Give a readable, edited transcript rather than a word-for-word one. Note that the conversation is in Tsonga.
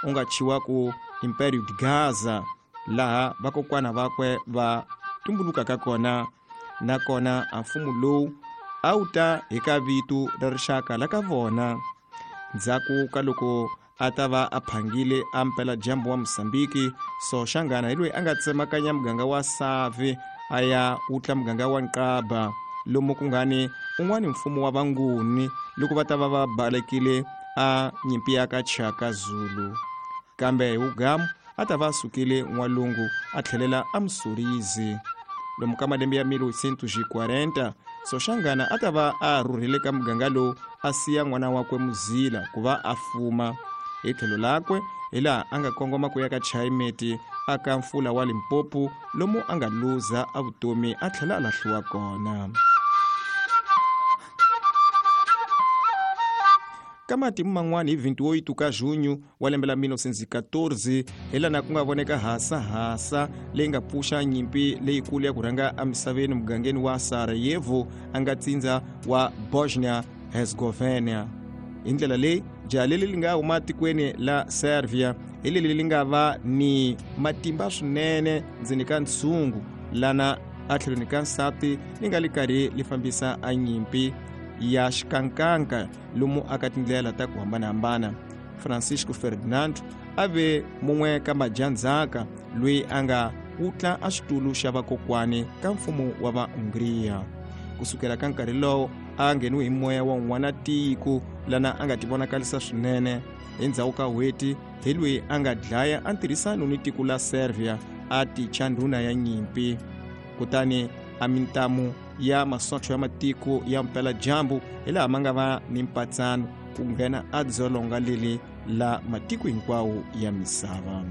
u nga thyiwa ku Império de Gaza, laha vakokwana vakwe va tumbulukaka kona. Nakona a mfumo lowu a wu ta hi ka vito ra rixaka la ka vona. Ndzhaku ka loko a ta va a phangile a mpeladyambu wa Mozambiki, Soshangana hi loyi a nga tsemakanya muganga wa Save a ya wutla muganga wa Nqaba, lomu ku nga ni un'wani mfumo wa Vanguni loko va ta va va balekile a nyimpi ya ka Chaka Zulu. Kambe hi wugamu a ta va a sukile n'walungu a tlhelela a Msurizi. Lomu ka malembe ya 1840, Soshangana a ta va a rhurhile ka muganga lowu a siya n'wana wakwe Muzila ku va a fuma. Hi tlhelo lakwe hi laha a nga kongoma ku ya ka Chayimeti a ka mfula wa Limpopo, lomu a nga luza a vutomi a tlhela a lahliwa kona. Ka matimu man'wana hi 28 ka Junho wa lembe la 1914, hi lana ku nga voneka hasahasa leyi nga pfuxa nyimpi leyikulu ya ku rhanga emisaveni mugangeni wa Sarajevo a nga tsindza wa Bosnia Herzegovina. Hi ndlela leyi, jaha leri li nga huma tikweni la Serbia hi leri li nga va ni matimba swinene ndzeni ka ntshungu lana a tlhelweni ka nsati li nga li karhi li fambisa a nyimpi ya xikankanka lomu aka tindlela ta ku hambanahambana. Francisco Ferdinand a ve mun'we ka madyandzhaka loyi a nga wutla a xitulu xa vakokwani ka mfumo wa va Hungria. Kusukela ka nkarhi lowo a ngheniwe hi moya wa un'wana tiko lana a nga tivonakalisa swinene. Hi ndzhaku ka n'hweti hi loyi a nga dlaya a ntirhisano ni tiko la Serbia a ticha ndhuna ya nyimpi. Kutani a mintamu ya masocha ya matiko ya mpeladyambu hi laha ma nga va ni mpatsano ku nghena a dzolonga leli la matiko hinkwawo ya misava.